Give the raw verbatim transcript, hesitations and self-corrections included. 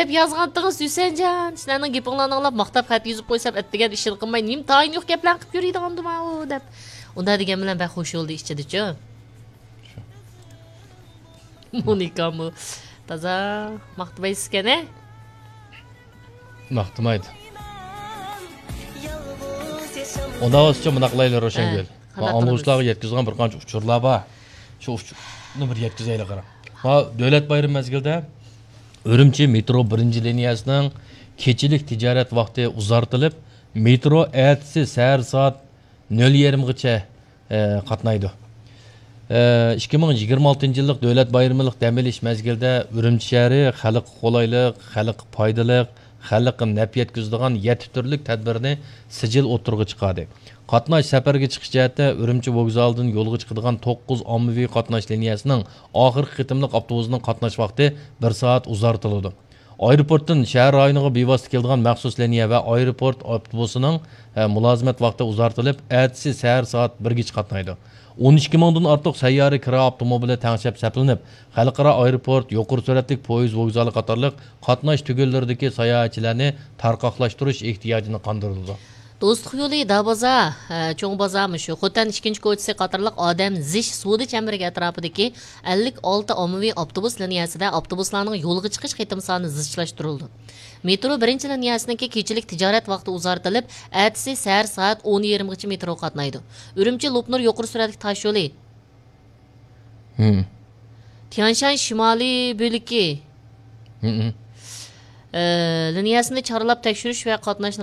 دەپ يازغانتىڭىز، ھۈسەنجان. سىلەرنىڭ گېپىڭلارنى ئاڭلاپ، ماقتاپ خەت يېزىپ قويسام، ئەتىگەن ئىشىنى قىلماي، نېمە تايىنى يوق گەپلەرنى قىلىپ يۈرىدىغاندىمۇ دەپ. ئۇنداق دېگەن بىلەن بەك خۇش بولدى ئىچىدىچۇ. مونىكامۇ تازا ماختىمايسىزكەن، ھە؟ ماختىمايدۇ. ئۇنداق بولسىچۇ، مۇنداق قىلايلى، روشەنگۈل. ھە، قانداق قىلىمىز؟ ئاڭلىغۇچىلارغا يەتكۈزىدىغان بىر قانچە ئۇچۇرلار بار. شۇ ئۇچۇرنى بىر يەتكۈزەيلى، قاراڭ. ھا، دۆلەت بايرىمى مەزگىلىدە ئۈرۈمچى مېترو بىرىنچى لىنىيەسىنىڭ كېچىلىك تىجارەت ۋاقتى ئۇزارتىلىپ، مېترو ئەتىسى سەھەر سائەت نۆل يېرىمغىچە، ئە، قاتنايدۇ. ئە، ئىككى مىڭ يىگىرمە ئالتىنچى يىللىق دۆلەت بايرىمىلىق دەم ئېلىش مەزگىلىدە ئۈرۈمچى شەھىرى خەلققە قولايلىق، خەلققە پايدىلىق، خەلققە نەپ يەتكۈزىدىغان يەتتە تۈرلۈك تەدبىرنى سىجىل ئوتتۇرىغا چىقاردى. قاتناش، سەپەرگە چىقىش جەھەتتە ئۈرۈمچى ۋوگزالىدىن يولغا چىقىدىغان توققۇز ئاممىۋى قاتناش لىنىيەسىنىڭ ئاخىرقى قېتىملىق ئاپتوبۇسىنىڭ قاتناش ۋاقتى بىر سائەت ئۇزارتىلىدۇ. ئايروپورتتىن شەھەر رايونىغا بىۋاسىتە كېلىدىغان مەخسۇس لىنىيە ۋە ئايروپورت ئاپتوبۇسىنىڭ، ئە، مۇلازىمەت ۋاقتى ئۇزارتىلىپ، ئەتىسى سەھەر سائەت بىرگىچە قاتنايدۇ. ئون ئىككى مىڭدىن ئارتۇق سەييارە كىرا ئاپتوموبىلى تەڭشەپ سەپلىنىپ، خەلقئارا ئايروپورت، يۇقىرى سۈرئەتلىك پويىز ۋوگزالى قاتارلىق قاتناش تۈگۈنلىرىدىكى ساياھەتچىلەرنى تارقاقلاشتۇرۇش ئېھتىياجىنى قاندۇرىدۇ. دوستلۇق يولى، دابازار، ھە، چوڭ بازار مۇشۇ، خوتەن ئىككىنچى كوچىسى قاتارلىق ئادەم زىچ سودا چەمبىرىكى ئەتراپىدىكى ئەللىك ئالتە ئاممىۋى ئاپتوبۇس لىنىيەسىدە ئاپتوبۇسلارنىڭ يولغا چىقىش قېتىم سانى زىچلاشتۇرۇلىدۇ. مېترو بىرىنچى لىنىيەسىنىڭكى كېچىلىك تىجارەت ۋاقتى ئۇزارتىلىپ، ئەتىسى سەھەر سائەت ئون يېرىمغىچە مېترو قاتنايدۇ. ئۈرۈمچى لوپنۇر يۇقىرى سۈرئەتلىك تاشيولى. ھىم. تيەنشان شىمالىي بۆلىكى. ھىم. ئە، لىنىيەسىنى چارلاپ تەكشۈرۈش ۋە قاتناشنى